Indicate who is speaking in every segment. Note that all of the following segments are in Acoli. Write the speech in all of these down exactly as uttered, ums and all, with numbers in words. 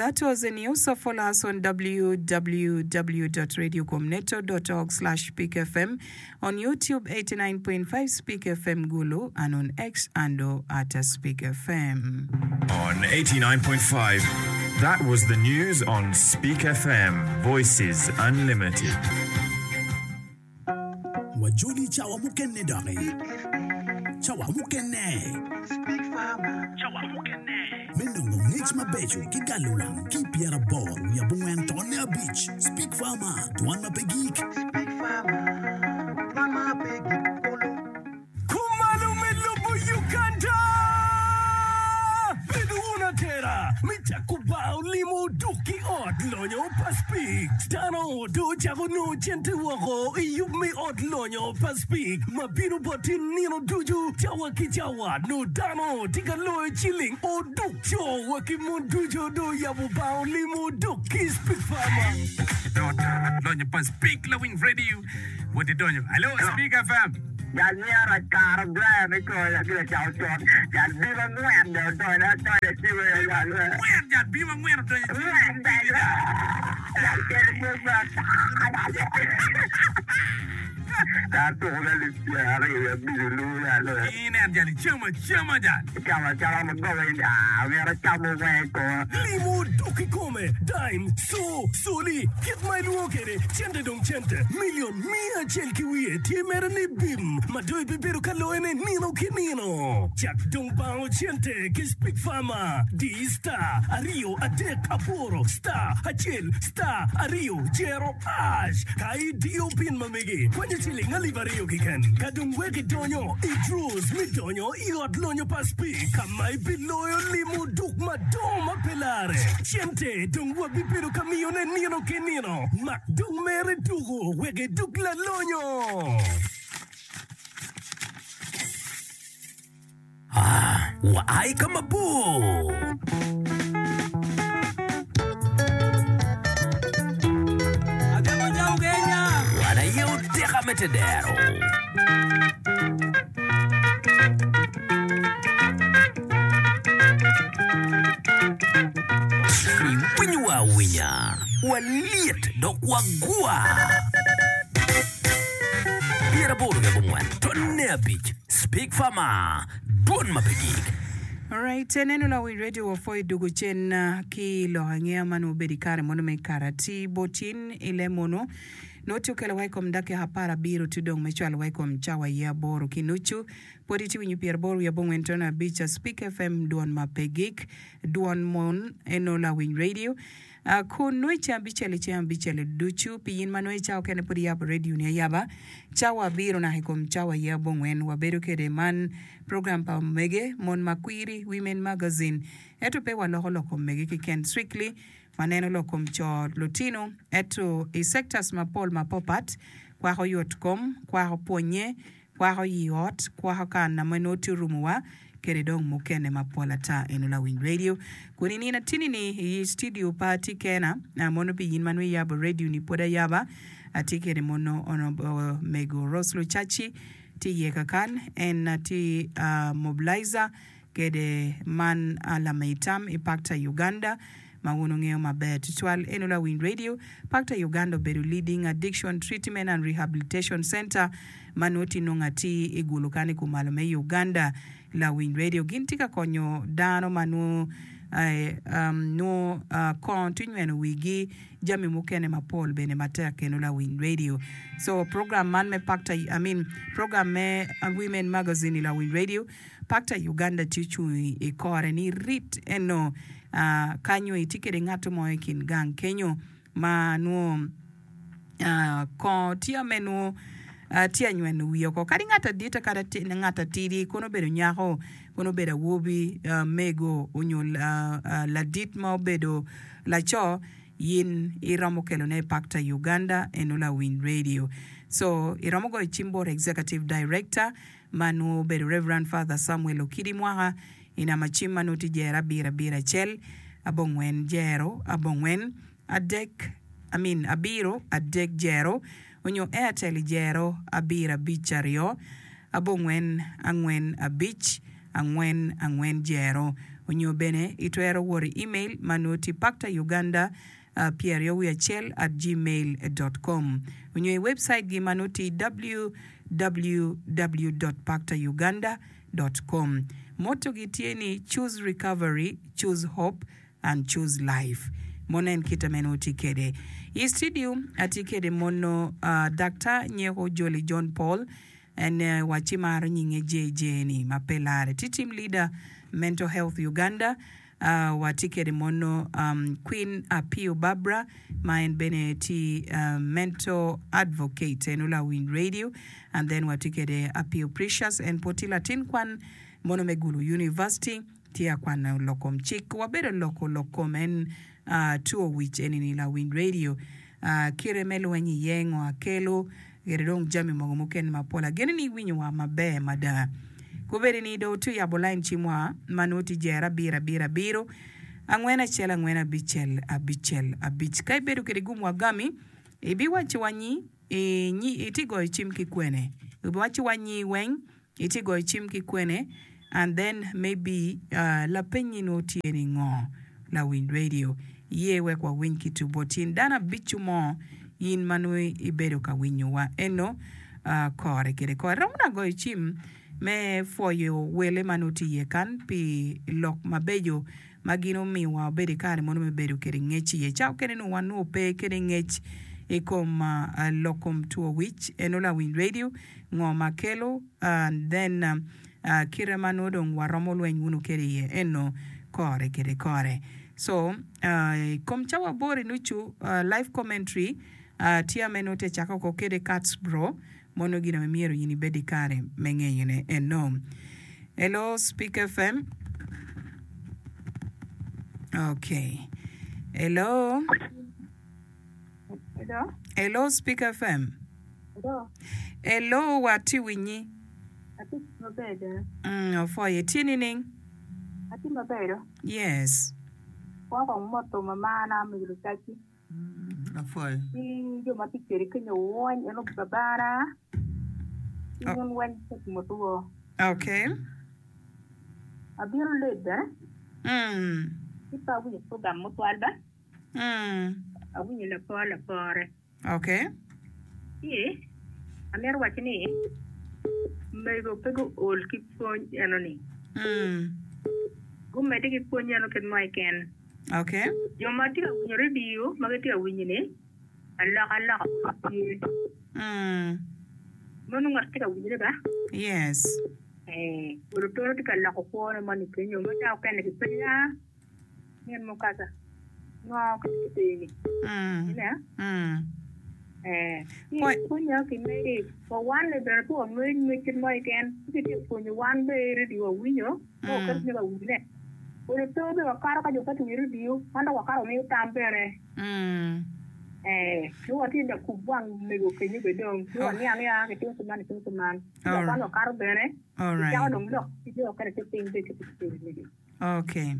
Speaker 1: That was the news. So follow us on www dot radiocomneto dot org slash speak fm, on YouTube eighty-nine point five Speak FM Gulu, and on X and at Speak FM.
Speaker 2: On eighty-nine point five, that was the news on Speak FM, Voices Unlimited.
Speaker 3: Wajoli cawa mukene doki. Cawa mukene. Me nongo ngec mabeco ki galo wang ki pyeraboro wiye abongwen tonne abic. Speak Farmer, dwan ma pe gik.
Speaker 4: Kumalo me lobo Uganda! Bedo wun atera me cako bar olimo duk ki ot lonyo pa Speke. Dano do ocako nongo cente woko i yub me ot lonyo pa Speke ma bino boti nino ducu cawa ki cawa. Nongo dano tye ka loyo ciling oduk co wa ki mon ducu do oyabo bar olimo duk ki Speke Farmer.
Speaker 5: Lonyo pa Speke Lawiny Radio wot idonyo. Hello, Speke F M.
Speaker 6: Jal myero akaro Brian i kore ki lacako con. Jal bim angwen dong odonyo adonyo i cime ya jal we.
Speaker 5: Angwen, jal bim angwen odonyo i cime.
Speaker 6: Angwen jal we. Jal kelo pwony me ata. Jal tuko me alip pyera aryo wiye abic olu jal we.
Speaker 5: Inen jal icamo acama jal.
Speaker 6: Icamo acama ma goba in aa myero acamo weng i koma.
Speaker 4: Limo dok i kome, dime, co, coli, kit ma ilwongo kwede, cente dong cente, milion miya acel ki wiye tye mere ni bim ma dong ibibedo ka loyone nino ki nino. Cak dong bango cente ki Speak Farmer, di star aryo adek aboro star acel star aryo jero hash ka idiyo pin ma megi kwanyo ciling alip aryo keken. Ka dong wek idonyo i draws me donyo i ot lonyo pa Speak ka ma ibiloyo limo duk madongo ma pe lare. Cente dong wabibedo ka miyone nino ki nino. Mak dong mere tuko wek iduk lalonyo.
Speaker 3: Ah, wa ai ka mabor. Wan aye oteka me tedero. Iwinyowa awinya, walyet dok wagwa. Pyeraboro ki abongwen tonne abic Speak Farmer, dwon ma pe gik.
Speaker 1: Alright, eneno lawiny radio wapwoyo dugo cen ki lok angeya ma nongo obedo i kare mono me karati bot in i le mono nongo tye okelo wa i kom dakika apar abiro tye dong me cwalo wa i kom cawa aye aboro ki nucu. Pwod itye winyo pyeraboro wiye abongwen tono abic Speak F M dwon ma pe gik dwon mon eno lawiny radio. Uh, kun nongo i ceng abicel i ceng abicel ducu pi in ma nongo i cawa okene pud iyabo radio ni ayaba cawa abiro naka i kom cawa aye abongwen wabedo kede man program pa omege mon makwiri Women Magazine ento pe waloko lok kom mege keken strictly waneno lok kom co lutino ento i sectors mapol mapapat kwako yot kom kwako pwonye kwako yi ot kwako kan ma nongo tye orumowa kede dong mukene mapol ata eno lawiny radio kun inino atini ni i studio pa atye kena mono pi yin ma nongo iyabo radio ni pwod ayaba atye kede mono honorable mego Rose Lucaci tye iye kakan en atye uh, mobilizer kede man lamitam i Pakta Uganda ma wun wungeyo maber tutwal eno lawiny radio Pakta Uganda obedo leading addiction treatment and rehabilitation center ma nongo tye nongo atir i gulu kan i kumalo me Uganda lawiny radio gin tye ka konyo dano ma nongo eh, um, nongo uh, kongo tye nyweno wigi jami mukene mapol bene matek eno lawiny radio so program man me Pakta I mean program me uh, Women Magazine i lawiny radio Pakta Uganda tye ocung i kore ni rit eno uh, kanyo itye kede ngato mo i kin gang kenyo ma nongo uh, kongo tye ame nongo uh, tye anyweno wiye oko kadi ngat adita kadi ati- ngat atidi kono obedo nyako kono obedo awobi uh, mego onyo uh, uh, ladit ma obedo laco yin iromo kelone i Pakta Uganda eno lawiny radio so iromo goyo cim bot executive director ma nongo obedo Reverend Father Samuel Okidi Mwaka i namba cim ma nongo tye jero abiro abiro acel abongwen jero abongwen adek I mean abiro adek jero onyo Airtel i jero abiro abic aryo abongwen angwen abic angwen angwen jero Onyo bene itwero wot i email ma nongo tye Pakta Uganda pyeraryo wiye acel at gmail dot com onyo i website gi ma nongo tye www dot pakta uganda dot com. Motto gi tye ni Choose Recovery, Choose Hope and Choose Life. Mono en kite ma en nongo tye kede. I studio atye kede mono Daktar Nyeko Jolly John Paul En wacci maro nyinge J J ni ma pe lare. Tye team leader Mental Health Uganda. Watye kede mono Queen Apio Barbara ma en bene tye mental advocate eno lawiny radio and then watye kede Apio Precious en pwod tye latin kwan mono me Gulu University tye akwano lok kom cik. Wabedo loko lok kom en two wic eni ni lawiny radio. Kite me lweny iye ngo akelo kede dong jami mogo mukene mapol. Ageno ni iwinyo wa maber mada. Kubedi ni dong wutye yabo lain cim wa ma nongo tye jero abiro abiro abiro angwen acel angwen abicel abicel abic. Ka ibedo kede gum wa gami, ibiwacci wa nyi itye goyo cim ki kwene. Ibiwacci wa nyi weng Itye goyo cim ki kwene and then maybe lapenyi nongo tye ni ngo lawiny radio ye wek wawiny ki tu bot in dano abicu mo in ma nongo ibedo ka winyo wa eno kore kede kore romo na goyo cim me pwoyo wele ma nongo tye iye kan pi lok mabeco ma gin omiyo wa wabedo i kare mono me bedo kede ngec iye. Ca okene nongo wan nongo pe kede ngec i kom lok kom two wic eno lawiny radio ngo ma kelo and then kite ma nongo dong waromo lweny wunu kede iye eno kore kede kore. So i kom cawa aboro i nucu live commentary tye ame nongo te cake oko kede Kats bro mono gin ame myero in ibed i kare me ngeyone eno. Hello Speak F M. Okay. Hello.
Speaker 7: Hello.
Speaker 1: Hello Speak F M.
Speaker 7: Hello.
Speaker 1: Hello, watye winyi.
Speaker 7: Atye maber bene.
Speaker 1: Mm, opwoyo. Itye nining?
Speaker 7: Atye maber do.
Speaker 1: Yes.
Speaker 7: Kwa kong moto mamana me lucaci.
Speaker 8: Apwoyo.
Speaker 7: Ki jo ma tye kwede kenyo wony eno babana ki
Speaker 1: Oh.
Speaker 7: wun weng pe moto wo.
Speaker 1: Okay.
Speaker 7: Abino late bene.
Speaker 1: Mm.
Speaker 7: Ki pe awinyo program mutwal ba.
Speaker 1: Mm.
Speaker 7: Awinyo lapor lapore.
Speaker 1: Okay.
Speaker 7: Ci amito waco ni mego pe guol ki pwony eno ni.
Speaker 1: Mm.
Speaker 7: Gumedde ki pwony eno kit mo keken.
Speaker 1: Okay.
Speaker 7: Jo ma tye ka winyo radio ma gitye ka winyo ni alokaloka tye.
Speaker 1: Mm.
Speaker 7: Meno ngat tye ka winyone ba?
Speaker 1: Yes.
Speaker 7: Eh, olo tono tye ka loko kwone moni kenyo ma ca okene kipenyo ah min mukasa ngo ka kiteni.
Speaker 1: Mm.
Speaker 7: Ine?
Speaker 1: Mm.
Speaker 7: Eh, ci
Speaker 1: Pwony.
Speaker 7: pwonyo ki megi wa wan ni bene pe wangweyo ngwec kit mo keken ci kitye ka pwonyo wan be i radio wawinyo ka waketo
Speaker 1: Mm.
Speaker 7: cwinywa ka winyone. Olo to be wakato ka jo pe tiwinyo radio wan dok wakato wamiyo tam bene.
Speaker 1: Mm.
Speaker 7: Eh, ci watye lakub wang mego kenyo be dong ci
Speaker 1: Oh.
Speaker 7: waniang ya kitimo kuman kitimo kuman. Ci
Speaker 1: All
Speaker 7: dok wan
Speaker 1: right.
Speaker 7: wakato bene
Speaker 1: All
Speaker 7: kicako
Speaker 1: right.
Speaker 7: dong lok ki jo okene te piny be kiti kitimo megi.
Speaker 1: Okay.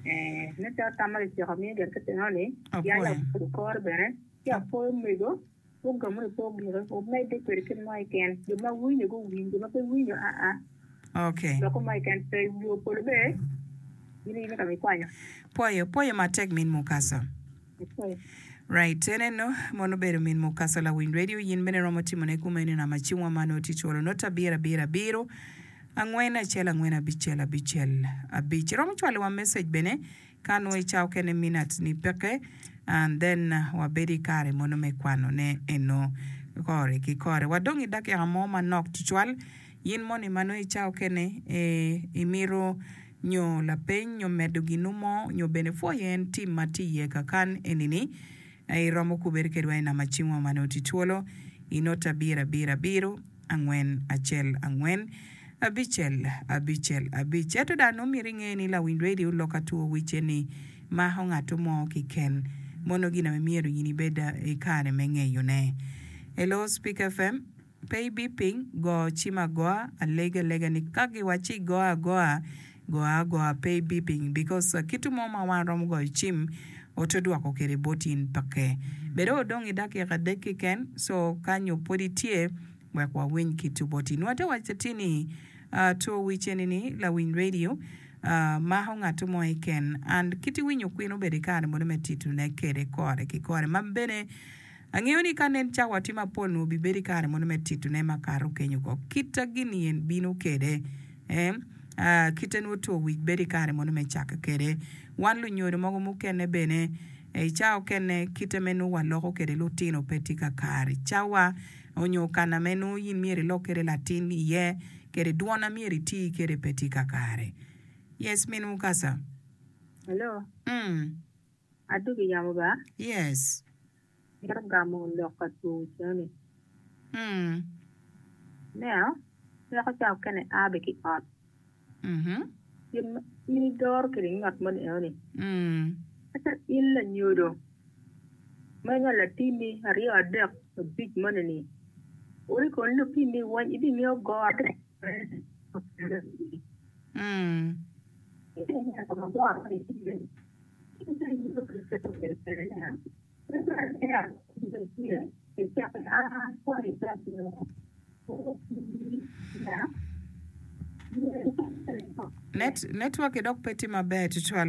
Speaker 7: Eh, ne calo tam ma kiciko miyo gin kitino ni pien
Speaker 1: Apwoyo.
Speaker 7: lakubo kore bene ci apwoyo mego ogamo ni pe ogike omedde kwede kit mo keken jo ma winyo guwiny jo ma pe winyo aa
Speaker 1: Okay.
Speaker 7: loko mo keken pe yo polo be in in ka mikwanyo.
Speaker 1: Pwoyo, pwoyo matek min mukasa.
Speaker 7: Apwoyo.
Speaker 1: Right, en eno mono obedo min mukasa lawiny radio yin bene romo timone kumeno i namba cimwa ma nongo tye cwalo not abiro abiro abiro angwen acel angwen abicel abicel abic. Iromo cwalo wa message bene ka nongo i cawa okene minutes ni peke and then wabedo i kare mono me kwano ne eno kore ki kore. Wadong i dakika mo manok tutwal yin moni ma nongo i cawa okene eh, imito nyo lapeny nyo medo ginu mo nyo bene pwoyo en tim ma tye iye kakan enini iromo kubere kedwa i namba cimwa ma nongo tye twolo i not abiro abiro abiro angwen acel angwen abicel abicel abic. Ento dano nongo myero inge ni lawiny radio lok atwo wice ni mako ngatto mo kiken mono gin ame myero in ibed i kare me ngeyone. Hello Speak F M pe ibi piny go cim agoa alegi alega ni ka giwacci igo agoa go agoa pe ibi piny because kitu mo ma wan romo goyo cim oto dwoko kede bot in peke bedo odong i dakika adek kiken so ka nyo pwod itye wek wawiny kitu bot in. Wate waco atir ni two wic eni ni lawiny radio uh, mako ngat mo keken and kit iwinyo kwin obedo i kare mono me titone kede kore ki kore ma bene angeyo ni ka nen cawa tye mapol nongo obibedo i kare mono me titone makato kenyo ko kita gini en bino kede eh? uh, kite nongo two wic bedo i kare mono me cako kede wan lunyodo mogo mukene bene i cawa okene kite me nongo waloko kede lutino pe tye kakare cawa onyo kana me nongo in myero ilok kede latin iye kede dwon a myero iti kede pe tye kakare yes min mukasa
Speaker 7: Hello,
Speaker 1: mm.
Speaker 7: adugi yamo ba?
Speaker 1: yes
Speaker 7: Mito gamo lok ka two cene.
Speaker 1: mm.
Speaker 7: Neno, weko ca okene a be ki ot.
Speaker 1: mm-hmm.
Speaker 7: In in idoro kede ngat moni enoni.
Speaker 1: mm.
Speaker 7: Ata in lanyodo. Ma inywalo latinni aryo adek abic moni ni. Ori kon lutinni weng ibingeyo goro.
Speaker 1: Mm. Net network dok pe tye maber tutwal.